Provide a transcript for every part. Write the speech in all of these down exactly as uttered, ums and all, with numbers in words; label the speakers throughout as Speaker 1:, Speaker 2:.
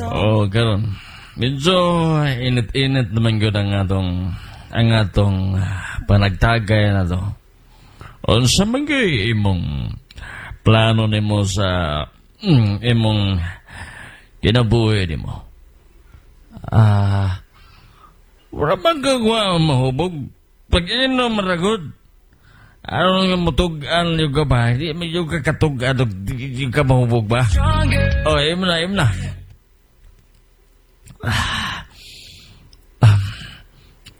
Speaker 1: Oh, karon. Medyo init-init naman gyud ang atong ang atong panagtagay na to. Unsa man gyud imong plano nimo sa mm, imong kinabuhi nimo?
Speaker 2: Ah,
Speaker 1: Wala man kagwa mahubog. Pag inom ragod. Ano nga mutug-an yung ka ba? Di man yung kakatug-an di ka mahubog ba? Oh, imo na, imo na. Ah.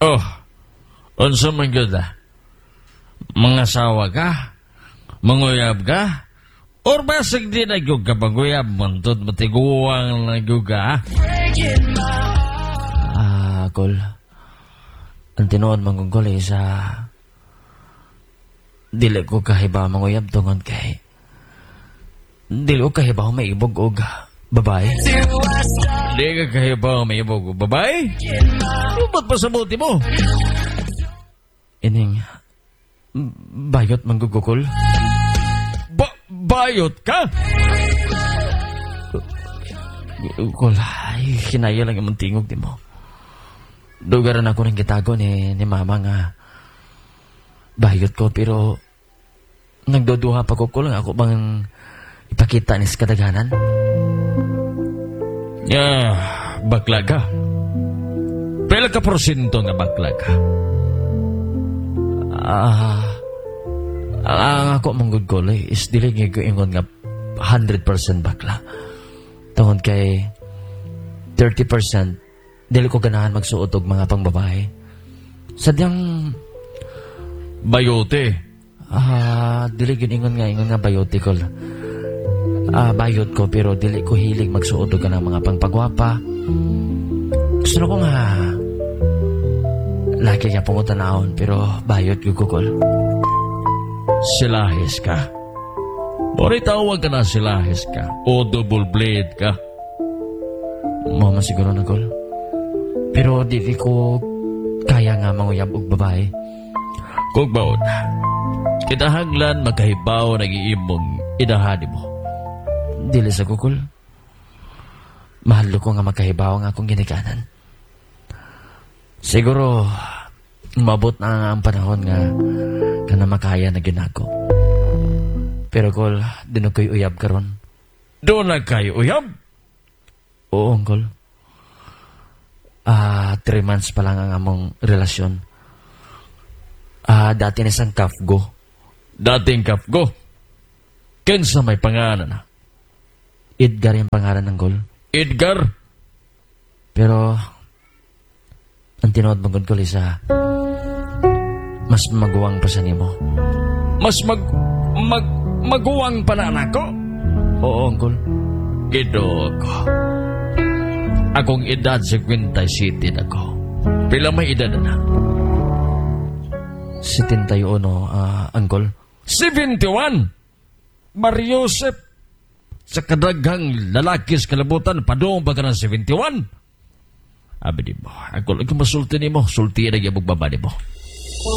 Speaker 1: Oh, unsa man gyud ah? Mangasawa ka? Manguyab ka? Or basig di na gyud ka manguyab, mantod matiguang na gyud ka, ah?
Speaker 2: ah, Kol. Ang tinuod man kong is ah, dili ko kahibaw manguyab tungod kay dili ko kahibaw maibog og babae.
Speaker 1: Di ka kahibaw maibog og babae? Ba't pa sa buti mo?
Speaker 2: Ining bayot man gud ko, Kol.
Speaker 1: Ba bayot ka?
Speaker 2: Kol, ay, hinaya lang imong tingog di mo. Dugaran ako ng gitago ni, ni mama nga bayot ko pero nagduduha pa ko ko lang ako bang ipakita ni sa kadaghanan.
Speaker 1: Ya, bakla ka. Pila ka porsyento nga bakla ka?
Speaker 2: Ah, ang ako man gud ko eh, is dili nga ko ingon nga one hundred percent bakla. Tungod kay thirty percent dili ko ganahan magsuot og mga pangbabae. Sadyang
Speaker 1: Bayote.
Speaker 2: Ah, dili gyud ingon nga ingon nga bayote ko. Ah, bayot ko pero dili ko hilig magsuot og kanang mga pangpagwapa. Gusto na ko nga lagi nga pangutan-awon pero bayot gyud ko, Kol.
Speaker 1: Silahis ka. Bori tawag ka na silahis ka. O double blade ka.
Speaker 2: Mao man siguro na, Kol. Pero dili ko kaya nga manguyab og babae.
Speaker 1: Kung baon, kinahanglan makahibaw nag-iimong inahan mo.
Speaker 2: Dili sa ko, Kol. Mahal ko nga makahibaw ang akong ginikanan. Siguro, mabot na ang panahon nga kana makaya na gyud nako. Pero Kol, duna ko'y uyab karon.
Speaker 1: Duna kay uyab?
Speaker 2: Oo, Uncle. Ah, three months pa lang ang among relasyon. Ah, dati na isang kafgo.
Speaker 1: Dating kafgo. Kinsa may pangalan na?
Speaker 2: Edgar yung pangalan ng Kol.
Speaker 1: Edgar?
Speaker 2: Pero, ang tinuod man gud, Kol, isa, mas maguwang pa sa nimo.
Speaker 1: Mas mag... mag... maguwang pa na anak ko?
Speaker 2: Oo, Uncle.
Speaker 1: Ginoo ko. Akong edad singkwenta y siyete na ko. Pila may edad na?
Speaker 2: setenta y uno, ah, Uncle.
Speaker 1: seventy-one! Mariosep! Sa kadaghang lalaki sa kalibutan, padung pa ka ng seventy-one? Abi di mo, ako lang masulti ni mo, sulti na gyud baba ni mo.